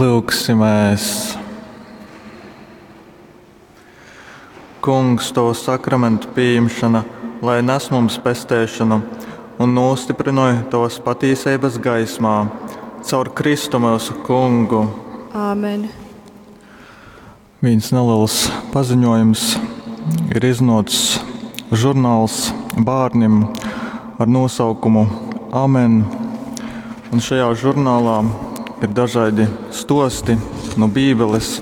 Lyugsimēs! Kungs, Tovu sakramentu pījimšana, lai nes mums pesteišanu un nūstyprynoj Tovas patīseibas gaismā, caur Kristu myusu Kungu. Āmen. Vīns neliels paziņojums ir iznōcis žurnāls bērnim ar nosaukumu Amen. Un šajā žurnālā ir dažādi stosti no Bībeles,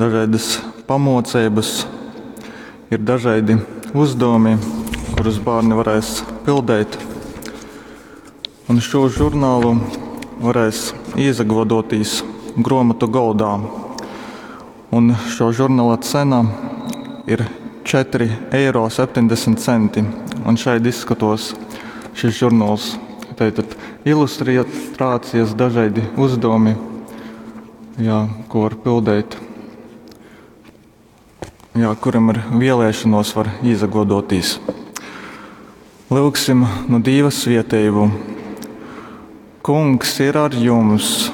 dažādas pamoceibas, ir dažādi uzdevumi, kurus bērni varēs pildīt. Un šo žurnālu varēs iezagodotīs gromatu goldā. Un šo žurnāla cena ir 4,70 eiro. Un šeit izskatos šis žurnāls. Tātad ilustrācijas, dažādi uzdevumi, jā, ko var pildīt. Jā, kuram ir vēlēšanos, var izagodotīs. Lūgsim no Dieva svietējumu. Kungs ir ar jums!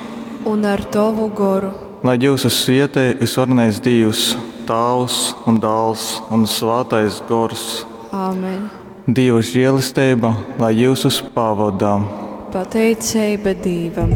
Un ar tovu goru. Lai jūs svietē visvarenais Dievs, Tāvs un Dāls un Svātais Gors. Āmen. Dieva žēlastība, lai jūs pavadā. Pateicība Dievam.